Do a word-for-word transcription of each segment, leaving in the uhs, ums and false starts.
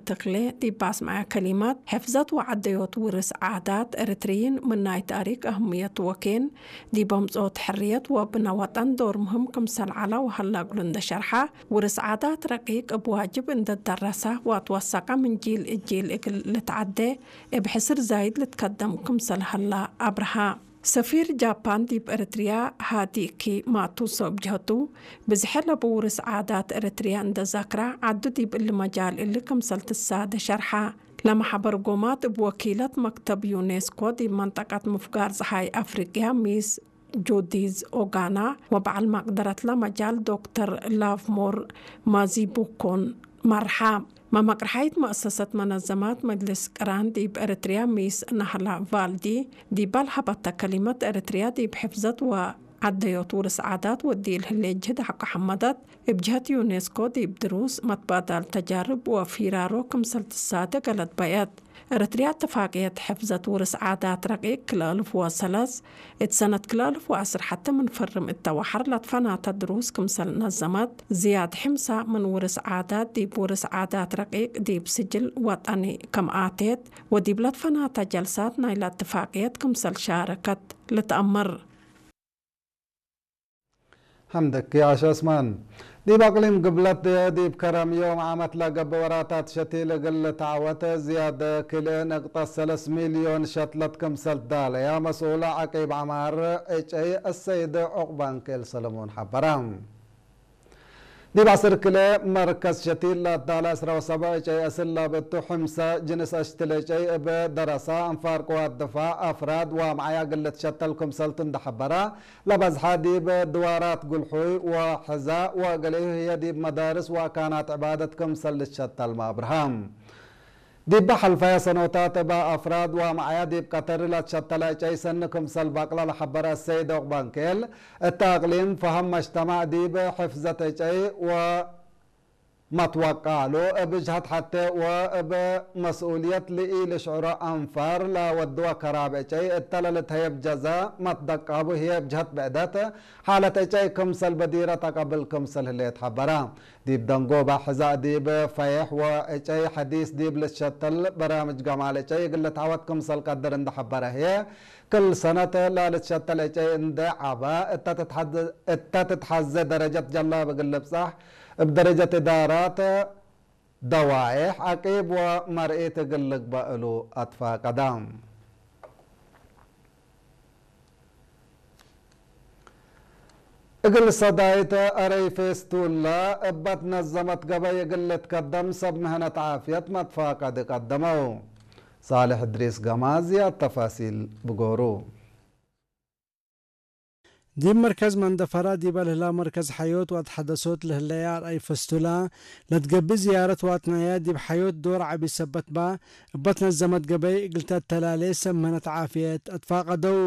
ተክሌ ዲብ አስመዐ ከሊመት፣ ሕፍዘት ወዐደዮት ውርስ ዓዳት ኤረትርይን ምን ናይ ታሪክ አህምየት ወኬን፣ ዲብ አምጽኦት ሕርየት ወብነ ወጠን ዶር ምህም ክምሰል ዐለ ወሀለ እግሉ እንደ ሸርሐ፣ ውርስ ዓዳት ረቂቅ እብ ዋጅብ እንደ ደረሰ ወአትወሰቀ ምን ጂል እጂል እግል ልትዐዴ እብ ሕስር ዛይድ ልትከደም ክምሰል ሀለ አብርሀ። ሰፊር ጃፓን ዲብ ኤረትርያ ሃዲኪ ማቱሶ እብ ጀህቱ፣ ብዝሐ ለቡ ውርስ ዓዳት ኤረትርያ እንደ ዘክረ፣ ዐዱ ዲብ እሊ መጃል እሊ ክምሰል ትሳደ ሸርሐ። ለመሐበር ጎማት እብ ወኪለት መክተብ ዩኔስኮ ዲብ መንጠቀት ምፍጋር ጸሓይ አፍሪቅያ ሚስ ጁዲዝ ኦጋና ወበዐል መቅደረት ለመጃል ዶክተር ላቭሞር ማዚቡኮን መርሐ። መመቅርሐይት መአሰሰት መነዘማት መጅልስ ቅራን ዲብ ኤረትርያ ሚስ ናህላ ቫልዲ፣ ዲበ ለሀበተ ከሊመት፣ ኤረትርያ ዲብ ሕፍዘት ወዐደዮት ውርስ ዓዳት ወዲል ህሌት ጅህድ ሐቆ ሐመደት፣ እብ ጀህት ዩኔስኮ ዲብ ድሩስ፣ መትባዳል ተጃርብ ወፊራሮ ክምሰል ትሳዴ ገለት በየት። ኤረትርያ እትፋቅየት ሕፍዘት ውርስ ዓዳት ረቂቅ ክልኤ አልፍ ወሰለስ፣ እት ሰነት ክልኤ አልፍ ወዐስር ሐቴ ምን ፈርም እተ ወሐር ለትፈናተ ድሩስ ክምሰል ነዘመት፣ ዝያድ ሕምሳ ምን ውርስ ዓዳት ዲብ ውርስ ዓዳት ረቂቅ ዲብ ስጅል ወጠኒ ከም አቴት ወዲብ ለትፈናተ ጀልሳት ናይለ እትፋቅየት ክምሰል ሻረከት ልትአመር። ሐምደኪ ዓሽ ዑስማን። ዲብ አቅሊም ግብለት ዲብ ከረም ዮም ዓመት ለገብእ ወራታት ሸቲል እግል ልትዐወት ዝያድ ክልኤ ነቅጠት ሰለስ ሚልዮን ሸትለት ክምሰል ትዳለያ መስኡል ዐቂብ ዐማር ዕጨይ አሰይድ ዑቅባንኬል ሰለሞን ሐበረ። ዲብ ዐስር ክልኤ መርከዝ ሸቲል ለአትዳለ ዕስራ ወሰብዕ ዕጨይ አስል ላብቱ፣ ሕምሰ ጅንስ አሽትል ዕጨይ እብ ደረሳ፣ አንፋር ቅዋት ድፋዕ፣ አፍራድ ወአምዓያ እግል ልትሸተል ክምሰልቱ እንደ ሐበረ፣ ለበዝሐ ዲብ ድዋራት ጉልሑይ ወሕዛእ ወገሌሁ ህዬ ዲብ መዳርስ ወአካናት ዕባደት ክምሰል ልትሸተልመ አብርሀ። ዲበ ሐልፈየ ሰኖታት እበ አፍራድ ወአምዓያ ዲብ ቀተሪ ለትሸተለ ዕጨይ ሰኒ ክምሰል በቅለ ለሐበረ አሰይድ ዑቅባንኬል፣ እተ አቅሊም ፈሀም መጅተማዕ ዲብ ሕፍዘት ዕጨይ ወ መትወቃሉ እብ ጅሀት ሐቴ ወእብ መስኡልየት ለኢልሽዕሮ አንፋር ለወድወ ከራብ ዕጨይ እተ ለልትሀየብ ጀዘ መትደቃቡ ህዬ እብ ጅሀት ብዕደት ሓለት ዕጨይ ክምሰል በዲረት አቀብል ክምሰል ህሌት ሐበረ። ዲብ ደንጎበ ሕዛእ ዲብ ፈዬሕ ወዕጨይ ሐዲስ ዲብ ልትሸተል በራምጅ ገማል ዕጨይ እግል ልትዐወት ክምሰል ቀድር እንደ ሐበረ ህዬ፣ ክል ሰነት ለልትሸተል ዕጨይ እንዴ ዐበ፣ እተ ትትሐዘ፣ እተ ትትሐዘ ደረጀት ጀላብ እግል ልብጻሕ፣ እብ ደረጀት እዳራት ደዋዬሕ፣ ዐቂብ ወመርኢት እግል ልግበእ እሉ አትፋቀደ። እግል ሰዳይት አረይ ፌስቱላ እበ ትነዘመት ገበይ እግል ልትከደም ሰብ ምህነት ዓፍየት መትፋቀድ ቀደመው። ሳልሕ እድሪስ ገማዝ ዝያድ ተፋሲል ብጎሩ። ዲብ መርከዝ መንደፈራ ዲበ ለህላ መርከዝ ሐዮት ወአትሐደሶት ለህለየ አርአይ ፈስቱላ ለትገብእ ዝያረት ወአትናየ ዲብ ሐዮት ዶር ዐቢ ሰበት በ እበ ትነዘመት ገበይ እግል ተተላሌ ሰብ ምህነት ዓፍየት አትፋቀደው።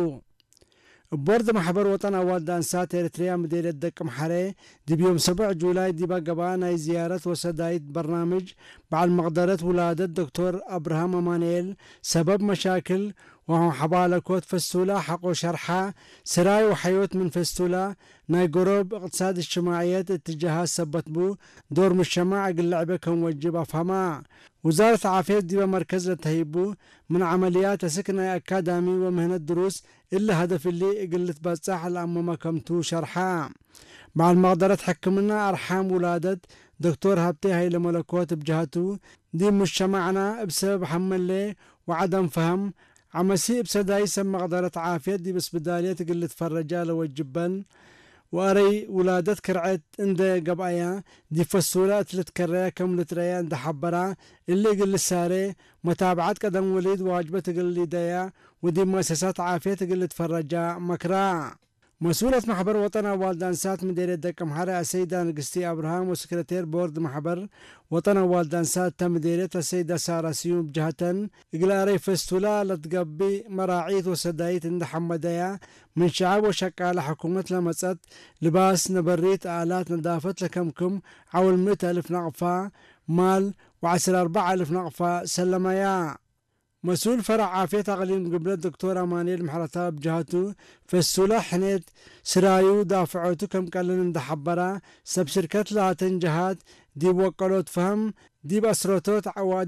እብ ቦርድ ማሕበር ወጠን አዋልድ አንሳት ኤረትርያ ምዴርየት ደቅምሐሬ፣ ዲብ ዮም ሰቡዕ ጁላይ ዲበ ገብአ ናይ ዝያረት ወሰዳይት በርናምጅ በዐል መቅደረት ውላደት ዶክቶር አብርሃም አማንኤል፣ ሰበብ መሻክል ወሐባለኮት ፈስቱላ ሐቆ ሸርሐ፣ ስራይ ወሐዮት ምን ፈስቱላ፣ ናይ ገሮብ እቅትሳድ እጅትማዕየት እትጃሃት ሰበት ቡ፣ ዶር ሙጅተማዕ እግል ለዕቤ ከም ወጅብ አፍሀማ። ውዛረት ዓፍየት ዲበ መርከዝ ለተህይቡ ምን ዐመልያት አስክ ናይ አካዳሚ ወምህነት ድሩስ እሊ ሀደፍ እሊ እግል ልትበጸሕ ለአመመ ከምቱ ሸርሐ። በዐል መቅደረት ሕክምና አርሓም ውላደት ዶክቶር ሀብቴ ሀይለመለኮት እብ ጀሀቱ፣ ዲብ ሙጅተማዕና እብ ሰበብ ሐመሌ ወዐደም ፈሀም ዐመሲ እብ ሰዳይ ሰብ መቅደረት ዓፍየት ዲብ እስብዳልየት እግል ልትፈረጃ ለወጅበን፣ ወአረይ ውላደት ክርዐት እንዴ ገብአያ፣ ዲብ ፈሱለ እት ልትከረያ ከም ልትረአያ እንዴ ሐበራ፣ እሊ እግል ልሳሬ፣ መታብዐት ቀደም ወሊድ ዋጅበት እግል ሊደያ፣ ወዲብ መአሰሳት ዓፍየት እግል ልትፈረጃ መክራ። መስኡለት መሕበር ወጠን አዋልድ አንሳት ምዴርየት ደቀምሐረ አሰይዳ ንግስቲ አብርሃም ወሰክረቴር ቦርድ መሕበር ወጠን አዋልድ አንሳት እተ ምዴርየት አሰይዳ ሳራ ስዩም እብ ጀሀተን፣ እግል አረይ ፈስቱላ ለትገብእ መራዒት ወሰዳይት እንዴ ሐመደያ፣ ምን ሸዐብ ወሸቃለ ሕኩመት ለመጸት ልባስ፣ ነበሪት፣ አላት ነዳፈት ለከምክም ዐውል ምእት አልፍ ናቅፋ ማል ወዐስር አርበዕ አልፍ ናቅፋ ሰለመያ። መስኡል ፈረዕ ዓፍየት አቅሊም ግብለት ዶክቶር አማኑኤል ምሕረተአብ ጀሀቱ፣ ፈሱለ ሕኔት ስራዩ ዳፍዖቱ ከም ቀልን እንዴ ሐበራ፣ ሰብ ሽርከት ላተን ጀሃት ዲብ ወቀሎት ፈሀም፣ ዲብ አስረቶት ዐዋድ